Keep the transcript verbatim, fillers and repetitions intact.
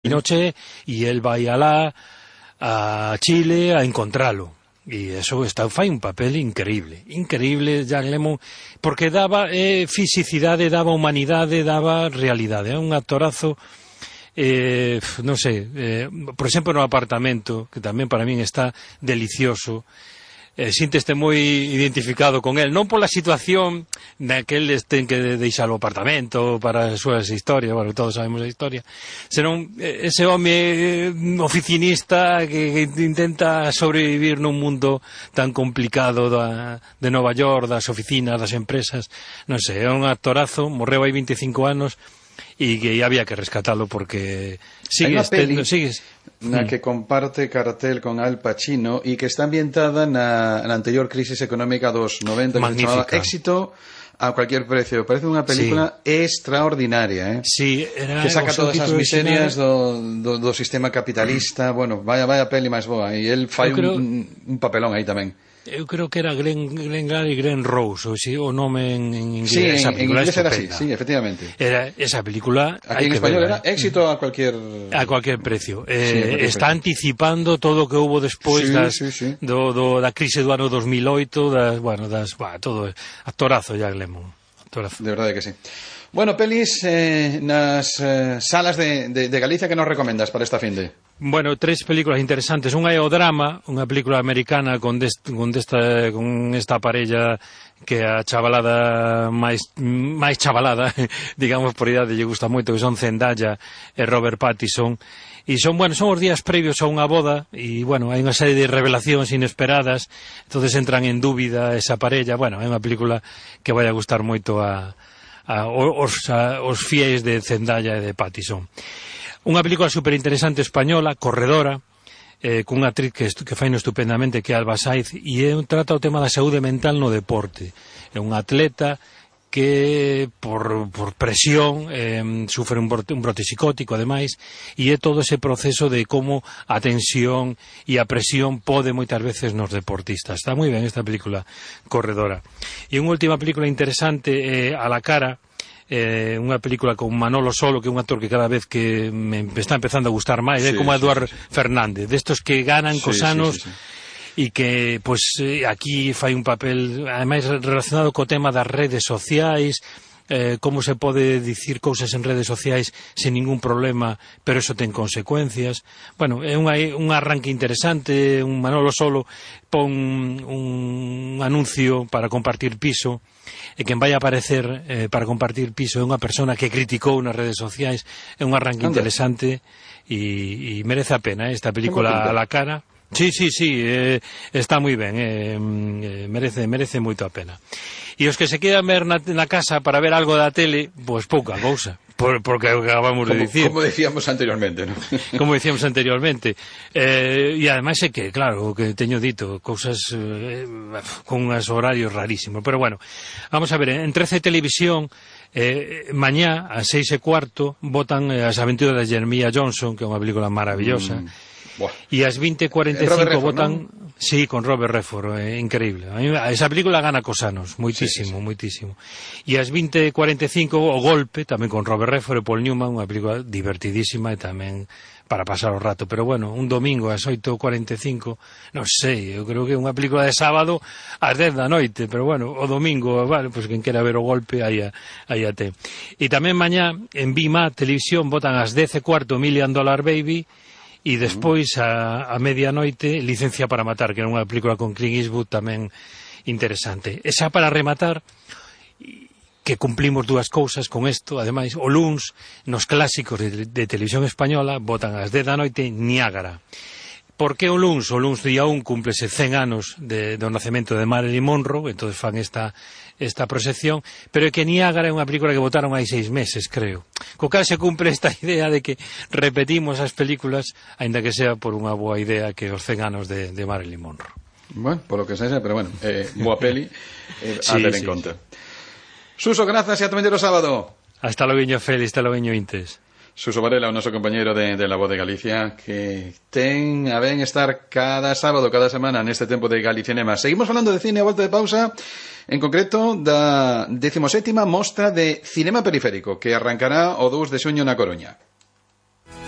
noche y él vai alá a Chile a encontralo. E eso está, fai un papel increíble, increíble Jack Lemmon, porque daba eh, fisicidade, daba humanidade, daba realidade. É un actorazo, eh, non sei, eh, por exemplo no Apartamento, que tamén para min está delicioso. Eh, sínteste moi identificado con él, non pola situación na que el ten que deixar o apartamento para as súas historias, bueno, todos sabemos a historia, senón ese home oficinista que, que intenta sobrevivir nun mundo tan complicado da, de Nova York, das oficinas, das empresas, non sei, é un actorazo, morreu hai veinticinco anos e que había que rescatalo porque sigues tendo, sigues na que comparte cartel con Al Pacino e que está ambientada na, na anterior crisis económica dos noventa, que se chamaba Éxito a cualquier precio. Parece unha película sí. extraordinaria, eh? Sí, era que saca todas as miserias do, do, do sistema capitalista. Bueno, vaya, vaya peli máis boa, e el fai creo... un, un papelón aí tamén. Eu creo que era Glenn, Glenn Gary e Glenn Rose, o, si, o nome en, en inglés. Sí, esa en, en inglés era así, sí, efectivamente. Era, esa película... Aquí en español verla, era Éxito a cualquier... A cualquier precio. Eh, sí, cualquier está precio. Anticipando todo o que houve despois sí, das, sí, sí. Do, do, da crise do ano dos mil oito, das, bueno, das, bah, todo, actorazo Jack Lemmon. Actorazo. De verdade que sí. Bueno, pelis eh, nas eh, salas de, de, de Galicia que nos recomendas para esta finde? Bueno, tres películas interesantes. Unha é o Drama, unha película americana con, dest, con, desta, con esta parella que a chavalada máis, máis chavalada, digamos por idade, lle gusta moito, que son Zendaya e Robert Pattinson. E son, bueno, son os días previos a unha boda e, bueno, hai unha serie de revelacións inesperadas, entonces entran en dúbida esa parella. Bueno, é unha película que vai a gustar moito a A, os, a, os fiéis de Zendaya e de Pattinson. Unha película superinteresante española, Corredora, eh, cunha actriz que, que fai no estupendamente, que é Alba Saiz, e é, trata o tema da saúde mental no deporte. É un atleta que por, por presión eh, sufre un brote, un brote psicótico ademais, e é todo ese proceso de como a tensión e a presión pode moitas veces nos deportistas. Está moi ben esta película Corredora. E unha última película interesante é eh, A la cara, eh, unha película con Manolo Solo, que é un actor que cada vez que me está empezando a gustar máis, é sí, eh, como Eduard sí, sí. Fernández, destos que ganan sí, cos anos sí, sí, sí. E que, pois, aquí fai un papel, ademais, relacionado co tema das redes sociais, eh, como se pode dicir cousas en redes sociais sen ningún problema, pero eso ten consecuencias. Bueno, é un, un arranque interesante. Un Manolo Solo pon un anuncio para compartir piso, e quen vai a aparecer eh, para compartir piso é unha persona que criticou nas redes sociais. É un arranque Anda. interesante e, e merece a pena, eh, esta película A la cara. Sí, sí, sí, eh, está moi ben, eh, eh, merece, merece moito a pena. E os que se quedan ver na, na casa para ver algo da tele, pois pues pouca cousa, por, porque acabamos como, de dicir. Como decíamos anteriormente, ¿no? Como decíamos anteriormente. Eh, e ademais é que, claro, o que teño dito, cousas eh, con uns horarios rarísimos. Pero bueno, vamos a ver, en trece Televisión, eh, mañá, a seis e cuarto, botan eh, As aventuras de Jeremiah Johnson, que é unha película maravillosa. Mm. E ás veinte e cuarenta e cinco votan, ¿no? Sí, con Robert Redford, é eh, increíble. A mí, esa película gana cos anos, moitísimo, sí, sí, sí. moitísimo. E ás veinte e cuarenta e cinco O Golpe, tamén con Robert Redford e Paul Newman, unha película divertidísima e tamén para pasar o rato. Pero bueno, un domingo ás oito e cuarenta e cinco, non sei, eu creo que é unha película de sábado ás dez da noite, pero bueno, o domingo, vale, pois pues, quen quera ver O Golpe, aí a, aí a te. E tamén mañá en Vima Televisión votan ás dez e cuarto Million Dollar Baby, e despois a, a medianoite Licencia para matar, que era unha película con Clint Eastwood tamén interesante. E xa para rematar, que cumplimos dúas cousas con isto, ademais, o luns nos clásicos de, de televisión española botan ás dez da noite Niágara. Por que o luns? O luns día un cúmplese cen anos de, do nacemento de Marilyn Monroe, entón fan esta, esta proxección, pero é que Niágara é unha película que votaron hai seis meses, creo. Co cal se cumple esta idea de que repetimos as películas, aínda que sea por unha boa idea, que os cen anos de, de Marilyn Monroe. Bueno, por lo que sexa, pero bueno, eh, boa peli, eh, sí, a ter sí, en conta. Sí. Suso, grazas e ata o sábado. Hasta logo, Félix, hasta logo, Intes. Suso Varela, o noso compañeiro de, de La Voz de Galicia, que ten a ben estar cada sábado, cada semana neste tempo de Galicinema. Seguimos falando de cine a volta de pausa, en concreto da decimoséptima mostra de cinema periférico, que arrancará o dous de xuño na Coruña.